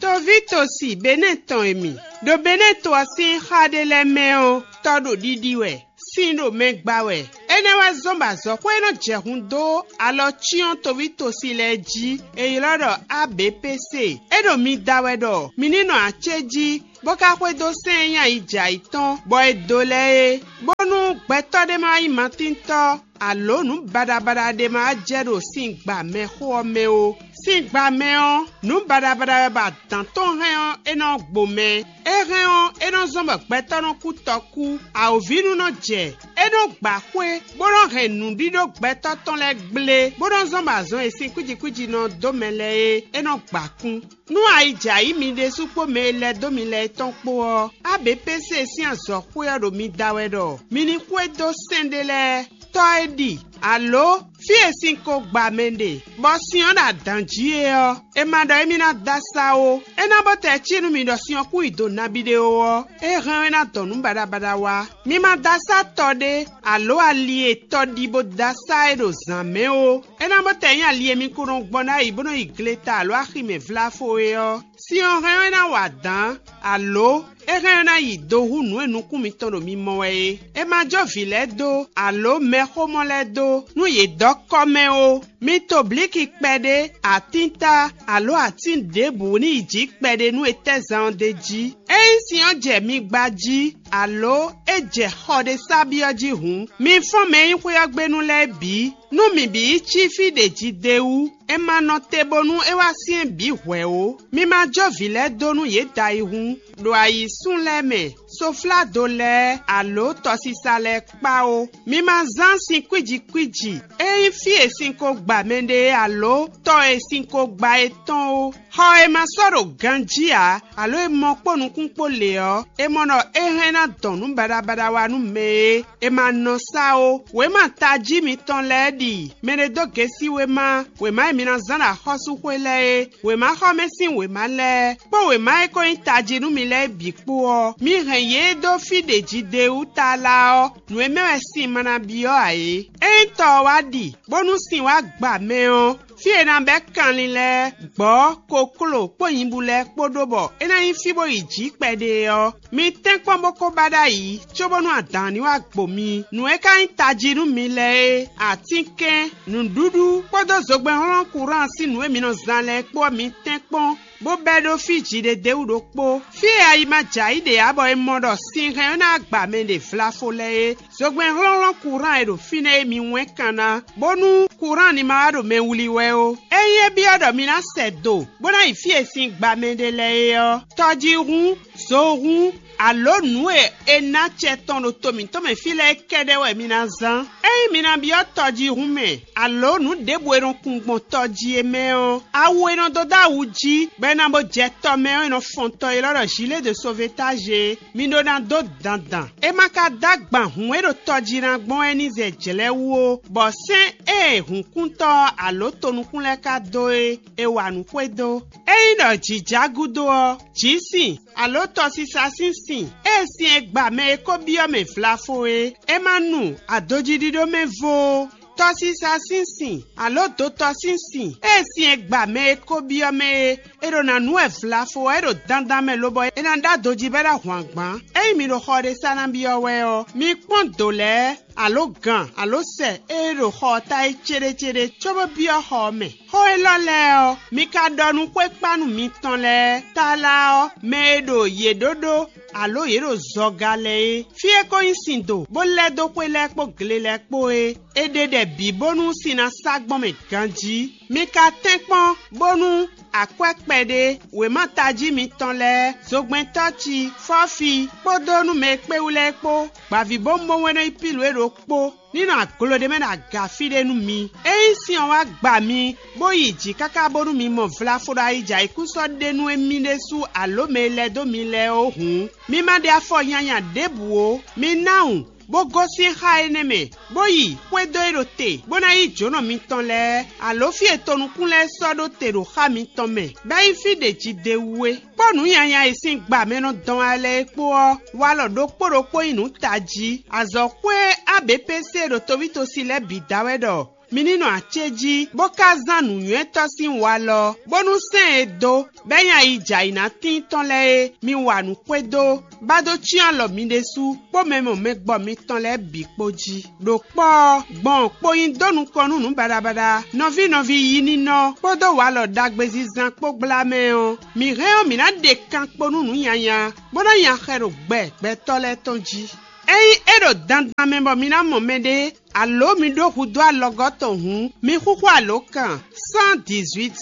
Toví tosi Benɛ́ɛ tɔn e mi ɖo Benɛ́ɛ to ɔ́ sín xá ɖé lɛ́ɛ mɛ ɔ́, tɔ ɖo ɖiɖi wɛ, sin ɖo mɛ gba wɛ. Énɛ́ wɛ zɔ́n bɔ azɔ̌xwé e nɔ jɛ hun dó alɔ cyɔ́n toví tosi lɛ́ɛ jí e ylɔ́ ɖɔ A B P C. É ɖo mi da wɛ ɖɔ mi ní nɔ acéjí, bó ka xwedó sɛ́n e nyí ayi jɛ ayǐ tɔn, bɔ è dǒ lɛ́ é, bónú gbɛtɔ́ ɖé ma nyí matíntɔ́, alǒ nǔ baɖabaɖa ɖé ma jɛ ɖo sin gba mɛxó ɔ́ mɛ ó. Sin gba mɛ ɔ́, nǔ baɖabaɖa wɛ bɔ adǎn tɔn hɛn ɔ́, é nɔ gbo mɛ. É hɛn ɔ́, é nɔ zɔ́n bɔ gbɛtɔ́ nɔ kú tɔkú. Awǒvínú nɔ jɛ, é nɔ gba xwé, bó nɔ hɛn nǔɖíɖó gbɛtɔ́ tɔn lɛ́ɛ gblé, bó nɔ zɔ́n bɔ azɔn e sin kwíji kwíji nɔ dó mɛ lɛ́ɛ é, é nɔ gba kún. Nú ayi jɛ ayǐ mi ɖésú kpó mɛ e lɛ́ dó mi lɛ́ɛ tɔn kpó ɔ́, A B P C sín azɔ̌xwé ɔ́ ɖo mi da wɛ ɖɔ mi ní xwedó sɛ́n ɖé lɛ́ɛ. Tɔ́ e ɖi, alǒ fí e sin ko gba mɛ ɖe, bɔ sin ɔ́ ɖo adǎn jí é ɔ́, è ma ɖɔ émí ná dó asá ó. É ná bó tɛ cí nú mi ɖɔ sin ɔ́ kún yi do nabí ɖé ó ɔ́, é hɛn ɔ́ é ná dɔn nǔ baɖabaɖa wá. Mi ma dó asá tɔ ɖé, alǒ ali e tɔ ɖi bó dó asá é ɖo zǎn mɛ ó. É ná bó tɛ nyí ali e mi ko nɔ gbɔn ɖ'ayǐ bó nɔ yi gleta alǒ axi mɛ vláfo é ɔ́, sin ɔ́ hɛn ɔ́ é ná wa dǎn, alǒ é hɛn ɔ́ é ná yi do hú nǔ e nukún mitɔn ɖo mi mɔ wɛ é. È ma jó vǐ lɛ́ɛ dó, alǒ mɛxómɔ lɛ́ɛ dó, nú yě dɔ́ kɔ́ mɛ ó. Mi to blǐki kpɛɖé, atínta, alǒ atín ɖěbǔ ní yi jǐ kpɛɖé nú è tɛ́ zan ɔ́ d'é jí. Ényí sin ɔ́ jɛ mi gba jí, alǒ é jɛ xɔ ɖé sá byɔ́ jí hǔn, mi fɔ́n mɛ e nyí xwé ɔ́ gbe nú lɛ́ɛ bǐ, nú mǐ bǐ yi cí fí ɖě jí d'é wú. È ma nɔ te bónú é wá syɛ́n bǐ hwɛ̌ ó. Mi ma jó vǐ lɛ́ɛ dó nú yě da ayihún, ɖo ayǐsún lɛ́ɛ mɛ, sofládo lɛ́ɛ, alǒ tɔsisa lɛ́ɛ kpá ó. Mi ma zán sin kwíji kwíji, é nyí fí e sin ko gba mɛɖé alǒ tɔ e sin ko gba é tɔn ó. Xɔ e ma sɔ́ ɖo ganjí ǎ, alǒ e mɔ kpó nukún kpó lě ɔ́, è mɔ ɖɔ é hɛn ná dɔn nǔ baɖabaɖa wá nú mɛ e è ma nɔ sá ó. Wěma tají mitɔn lɛ́ɛ ɖi mɛɖé dó gesi wéma, wěma e mi ná zán ɖo axɔ́súxwé lɛ́ɛ é, wěmaxɔmɛ sín wěma lɛ́ɛ, kpó wěma e ko nyí tají nú mi lɛ́ɛ bǐ kpó ɔ́, mi hɛn yě dó fí ɖě jí d'é wú tlala ɔ́, nǔ e mɛ wɛ sin ma ná byɔ́ ǎ é. Ényí tɔ ɔ́ wá ɖi, bónú sin wá gba mɛ ɔ́, fí e è nǎ bɛ́ kanlin lɛ́ɛ, gbɔ̌, kokló kpó nyibú lɛ́ɛ kpó ɖó bɔ é ná nyí fí bó yi jǐ kpɛɖé ɔ́, mi tɛ́nkpɔ́n bó kó ba ɖ'ayǐ, cóbónú adǎn ní wá gbo mi. Nǔ e ka nyí tají nú mi lɛ́ɛ é, atínkɛn, nǔɖuɖu kpódó zogbɛ́nhlɔ́n kurán sín nǔ e mi nɔ zán lɛ́ɛ kpó ɔ́, mi tɛ́nkpɔ́n, bó bɛ́ ɖó fí jǐɖédéwú ɖokpó. Fí e ayi ma jɛ ayǐ ɖe ǎ bɔ è mɔ ɖɔ sin hɛn ɔ́ ná gba mɛ ɖe vlafo lɛ́ɛ é. Zogbɛ́n hlɔ́nhlɔ́n kurán e ɖo fínɛ́ é mi wɛ́n kan ná, bónú kurán ní ma wá ɖo mɛ wlí wɛ ó. Ényí é byɔ́ ɖɔ mi ná sɛ do, bó ná yi fí e sin gba mɛ ɖe lɛ́ɛ é ɔ́, tɔjíhún, zohún, alǒ nǔ e è ná acɛ tɔn ɖo to mǐtɔn mɛ fí lɛ́ɛ kɛ́ɖɛ́ wɛ mi ná zán. Ényí mi ná byɔ́ tɔjíhún mɛ, alǒ nǔ ɖěbǔ e nɔ kun gbɔn tɔ jí é mɛ ɔ́, awu e nɔ dó dó awu jí, bɔ è nǎ bó jɛ tɔ mɛ ɔ́, è nɔ fɔn tɔ élɔ́ ɖɔ gilet de sauvetage é. Mi ɖó ná dó dandan. É ma ka dó agban hǔn e ɖo tɔ jí ná gbɔn wɛ ní zɛ jlɛ̌ wú ó, bɔ sɛ́n e hǔnkúntɔ́ ɔ́ alǒ tonukún lɛ́ɛ ka dó é, è wa nǔ xwedó. Ényí ɖɔ jǐ já gúdo ɔ́, jǐ sin, alǒ tɔsisa sín sin, ée sin e gba mɛ e ko byɔ́ mɛ vlafo é, é ma nu adojíɖíɖó mɛ vo ó. Tɔsisa sín sin, alǒ dotɔ sín sin, ée sin e gba mɛ e ko byɔ́ mɛ é, è ɖo ná nú wɛ vlafo ɔ́, é ɖo dandan mɛ lobɔ é ná ɖó adojí bɔ é ná hwan gbǎn. Ényí mi ɖo xɔ ɖé sá ná byɔ́ wɛ ɔ́, mi kpɔ́n dǒ lɛ́ɛ, alǒ gan, alǒ sɛ e ɖo xɔ ɔ́ ta é céɖécéɖé, cóbó byɔ́ xɔ ɔ́ mɛ. Xó élɔ́ lɛ́ɛ ɔ́, mi ka ɖɔ nú xwékpánu mitɔn lɛ́ɛ, tlala ɔ́, mɛ e ɖo yě ɖó ɖó, alǒ yě ɖo zɔga lɛ́ɛ é. Fí e ko nyí sin do, bó lɛ́ dó xwé lɛ́ɛ kpó gle lɛ́ɛ kpó é, è ɖe ɖɛ bǐ bónú sin ná sá gbɔn mɛ ganjí. Mi ka tɛ́nkpɔ́n bónú akwɛ́ kpɛɖé, wěma tají mitɔn lɛ́ɛ, zogbɛ́ntɔ́ ci, fɔ́fi, kpódó nú mɛ e kpé wú lɛ́ɛ kpó, gbǎvíbówúnbówún e nɔ nyí Pilu é ɖokpó, ní nɔ aglo ɖé mɛ ɖo aga fí ɖé nú mi. Ényí sin ɔ́ wá gba mi, bó yi jǐ káká bónú mi mɔ vlafo ɖo ayijɛ ayǐkúsɔ́ ɖé nú émí ɖésú alǒ mɛ e lɛ́ dó mi lɛ́ɛ ó hǔn, mi ma ɖe afɔ nyanya ɖěbǔ ó. Mi ná wun, bó gosín xá énɛ́ mɛ, bó yi xwedó e ɖo te, bó ná yí jǒnɔ mitɔn lɛ́ɛ, alǒ fí e tonukún lɛ́ɛ sɔ́ ɖó te ɖo xá mitɔn mɛ, bɔ é nyí fí ɖě jí d'é wú é. Kpó nǔ nyanya e sín gba mɛ nɔ dɔn wá lɛ́ɛ é kpó ɔ́, walɔ ɖokpó ɖokpó nyí nǔ tají. Azɔ̌xwé A B P C ɖo towítosi lɛ́ɛ bǐ da wɛ ɖɔ Mi ní nɔ acéjí, bó ka zán nǔnywɛ́tɔ́ sín walɔ, bónú sɛ́n e dó, bɔ é nyí ayi jɛ ayǐ ná tíin tɔn lɛ́ɛ é, mi wa nǔ xwedó, bá dó cyɔ́n alɔ mi ɖésú kpó mɛ mɔ mɛ gbɔ mitɔn lɛ́ɛ bǐ kpó jí. Ɖo kpɔ́ ɔ́, gbɔn kpo nyi dó nukɔn nú nǔ baɖabaɖa, nɔví nɔví yi ninɔ kpódó walɔ ɖagbe zizan kpó gbla mɛ ɔ́, mǐ hɛn ɔ́, mǐ ná ɖe kan kpo nú nǔ nyanya, bó ná nya xɛ ɖo gbɛ gbɛtɔ́ lɛ́ɛ tɔn jí. Ényí é ɖo dandan mɛ bɔ mi ná mɔ mɛɖé, alǒ mi ɖó hudó alɔgɔ́ tɔn hǔn, mi xúxú alǒkan cent dix-huit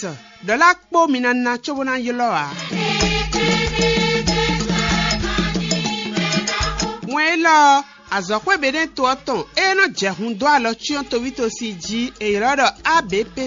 ɖɔ̌la kpó mi ná ná cóbó ná ylɔ́ ǎ. Wɛn élɔ́ ɔ́, azɔ̌xwé Beɖɛ́ɛn to ɔ́ tɔn e nɔ jɛ hun dó alɔ cyɔ́n tovítosi jí è ylɔ́ ɖɔ A B P